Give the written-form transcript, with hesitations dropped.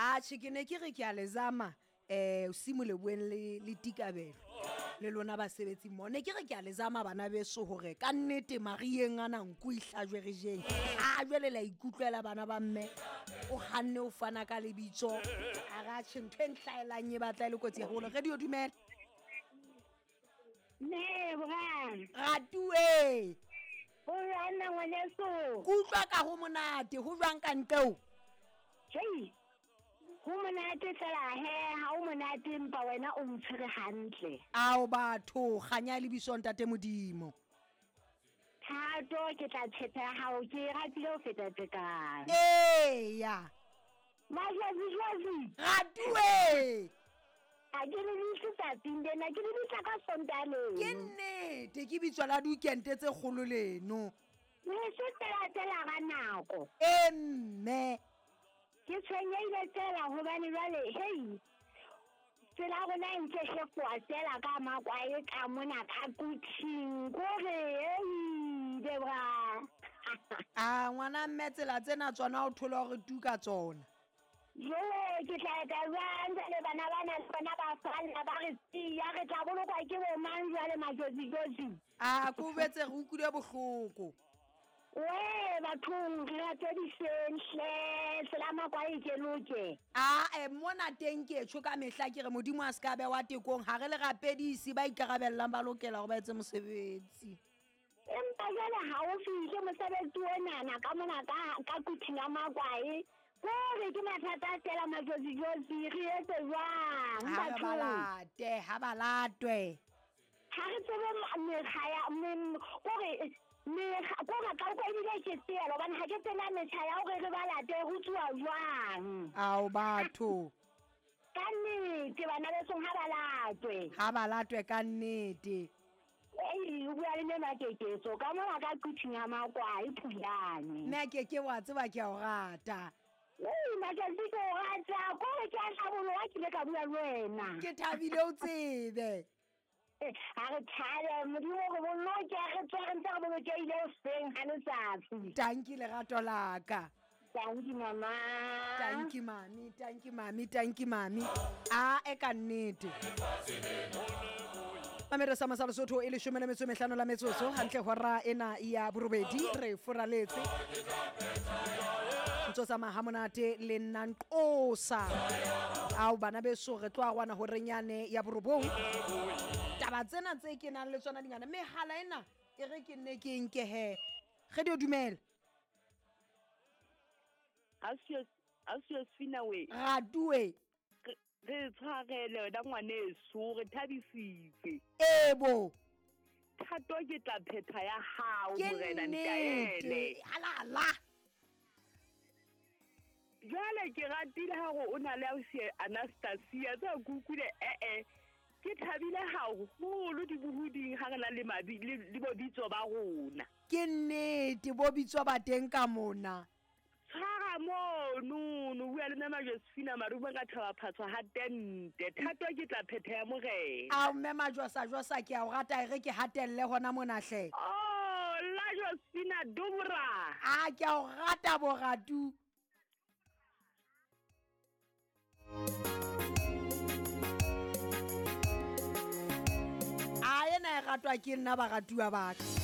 Atjhe, ke ne ke re ke a le zama um simo leboeng le le tikabelo le lona basebetsi mmoho. Ne ke re ke a le zama bana beso hore ka nnete marieng ana nku e hlajwe re jeng. A jwale la ikutlwela bana ba mme, o kganne o fana ka lebitso. A re atjhe ntho e nhlaelang e batla e le kotsi haholo. Radio dumela. Lebogang. Ratuwe. Ho jwang na ngwaneso? Ke utlwa ka ho monate, ho jwang ka nqeo? Hei, ho monate fela he, ha o monate empa wena o ntshwere hantle. Ao batho, kganya e lebiswa Ntate Modimo. Thato ke tla tshepe ya hao, ke e ratile ho feta tekano. Eya. Majwazi jwazi. Ratuwe. Ha ke le bitse tsatsing lena, ke le bitsa ka Sontaha leno. Ke nnete, ke bitswa la diweekende tse kgolo leno. Le se fela fela ga nako. E mme. Ke tshwenyehile fela hobane jwale, hei, tsela ya rona e ntse hefoha fela ka makwae ka mona ka kuthing, kore hei, Debra. A ngwana mme tsela tsena tsona o thole hore tu ka tsona. Jo, ke tla etsa jwang jwale bana bana le bona ba falla ba re siya, re tla bolokwa ke bo mang jwale majotsi-jotsi? A ko betse re utlwile bohloko. We bathong re ratediseng hle, tsela makwae ke loke. Ae mona teng ke tjho ka mehla ke re Modimo a se ka bewa tekong, ha re le rapedisi ba ikarabellang ba lokela hore ba etse mosebetsi. Empa jwale ha o fihle mosebetsi onana ka mona ka ka kuthing ya makwae, kore ke mathata fela majotsi-jotsi, re etse jwang Ha re ba bathong? late, ha ba latwe. Ha re tsebe mekga ya kore mekga kore ka utlwa ebile ke seela hobane ha ke tsena metjha ya hore re ba late ho tsuwa jwang. Ao batho. Ka nnete bana besong ha ba latwe. Ha ba latwe ka nnete. Ei, o bua le mme Makeketso ka mona ka quthing ya makwae Phulane. Mme Keke wa tseba ke a o rata. Ei, Makeketso ke o rata, kore ke a hlaboloha ke ile ka bua le wena. Ke thabile o tsebe. Ha re thabe, Modimo re boloke, re tswe re ntse re bolokehile hoseng ha letsatsi. Tanki lerato la ka. Tanki mama. Tanki mami, tanki mami, tanki mami. A e ka nnete. Mamere sa masa Lesotho e leshome le metso e mehlano la metsotso hantle hora ena ya borobedi re furaletse. Ntso tsamaya ha monate le nna nqosa. Ao bana beso re tlo arwana horeng yane ya borobong. Taba tsena tse ke nang le tsona dingata mehala ena e re ke nne ke nke he. Radio dumela. Ausi Sfina we. Ratue. Re tshwarele wena ngwaneso, re thabisitse. Ebo. Thato ke tla phetha ya hao Ke morena nnete. Ntaele. Alala. Jwale ke ratile ha hore o na le ausi Anastasia tsa kukuile eh ke thabile haholo dibohuding ha re na le mabi le bobitso ba rona. Ke nnete bo bitswa ba teng ka mona. Tshwara mono, no bua le mme Josephina Marumo ka thaba phatswa ha tente. Thato ke tla phetha ya morena. Ao mme Majosa Josa ke a o rata e re ke hatelle hona mona hle. Oh, la Josephina Dubra. A ke a o rata boratu. A ena e ratwa ke nna baratuwa ba ka.